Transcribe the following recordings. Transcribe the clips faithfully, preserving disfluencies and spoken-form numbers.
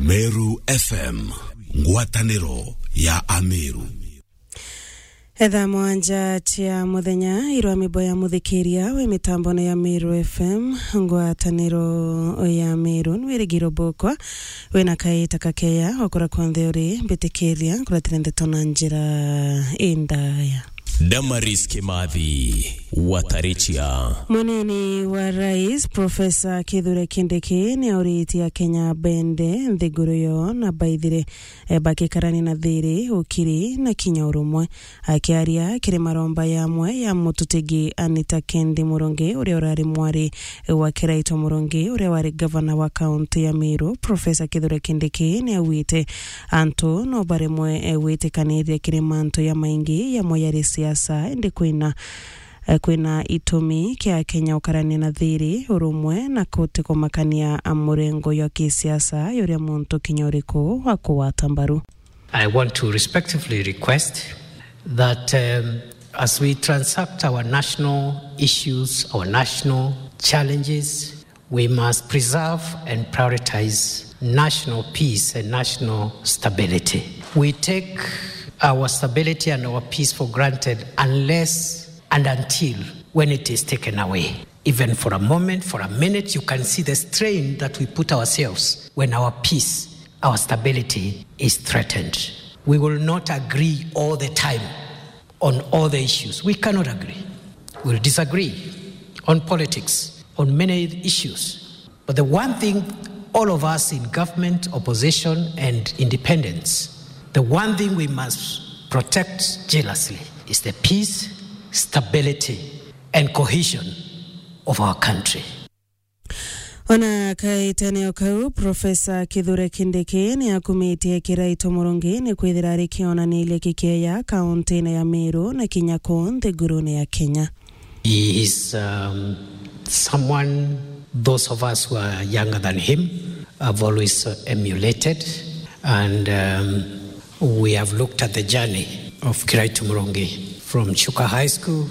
Meru F M, ngwataniro ya Ameru. Etha mwanja cia muthenya, irwa mibo ya muthikiria wi mitambone ya Meru F M, ngwataniro ya Meru, nwirigiro bukwa, wina kaita kakeya, okura kwonthe uri, mbitikiria, nkuratire ndeto na njira indaya. Damaris Kimathi, Watarichia. Munini wa Rais, Profesa Kithure Kindiki, ni auritie Akenya bende nthiguru yo na baithire, e, bakikarania na thiri, ukiri na kinya urumwe. Akiaria kiri maromba yamwe ya mututigi Anita Kendi Murungi, uria urari mwari wa Kiraitu Murungi, uria wari gavana wa kaunti ya Meru, Profesa Kithure Kindiki, ni augite antu no baremwe, e, gwitikaniria kiri mantu ya maingi yamo yari siasa, indi kwina, e, kwina itumi kia Kenya ukarania na thiri, urumwe na kutikumakania murengo jwa kisiasa juria muntu kinya uriku wa kugwata mbaru. I want to respectfully request that, um, as we transact our national issues, our national challenges, we must preserve and prioritize national peace and national stability. We take our stability and our peace for granted unless and until when it is taken away. Even for a moment, for a minute, you can see the strain that we put ourselves when our peace, our stability is threatened. We will not agree all the time on all the issues. We cannot agree. We'll disagree on politics, on many issues. But the one thing all of us in government, opposition, and independents, the one thing we must protect jealously is the peace, stability, and cohesion of our country. Ona kaitene o kau, Profesa Kithure Kindiki ni akumitie Kiraitu Murungi ni kwithira ari kionaniria kikeya kauntine ya Meru na kinya ku nthigurune ya Kenya. He is, um, someone those of us who are younger than him have always, uh, emulated, and, um, we have looked at the journey of Kiraitu Murungi from Chuka High School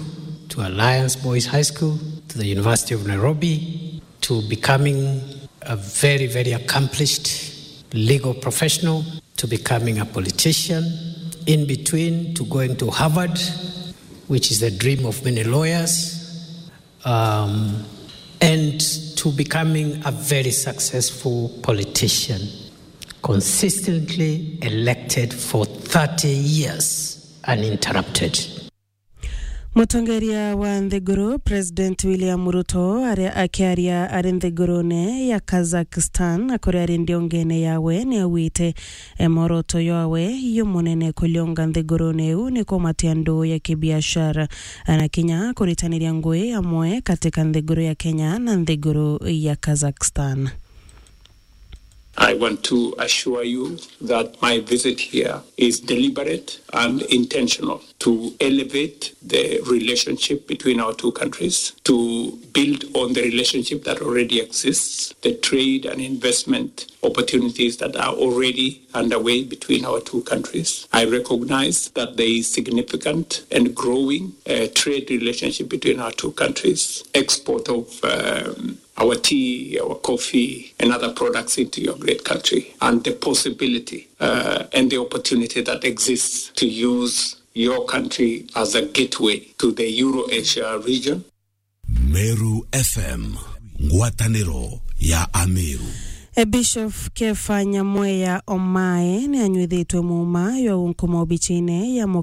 to Alliance Boys High School to the University of Nairobi to becoming a very, very accomplished legal professional, to becoming a politician, in between to going to Harvard, which is the dream of many lawyers, um, and to becoming a very successful politician, consistently elected for thirty years uninterrupted. Mutongeria wa nthiguru, President William Ruto, aria akiaria ari nthigurune ya Kazakhstan, na kuria ari ndiongene yawe, ni augite, e, mworoto jwawe jumunene kulionga nthigurune iu ni kumatia nduu ya kibiashara, na kinya kuritaniria ngui amwe katika nthiguru ya Kenya na nthiguru ya Kazakhstan. I want to assure you that my visit here is deliberate and intentional to elevate the relationship between our two countries, to build on the relationship that already exists, the trade and investment opportunities that are already underway between our two countries. I recognize that there is significant and growing, uh, trade relationship between our two countries, export of, um, our tea, our coffee, and other products into your great country, and the possibility, uh, and the opportunity that exists to use your country as a gateway to the Euro-Asia region. Meru F M, ngwataniro ya Ameru. E, Bishop Kefa Nyamweya Omae ni anyuithitwe muuma jwa gunkuma obicine ya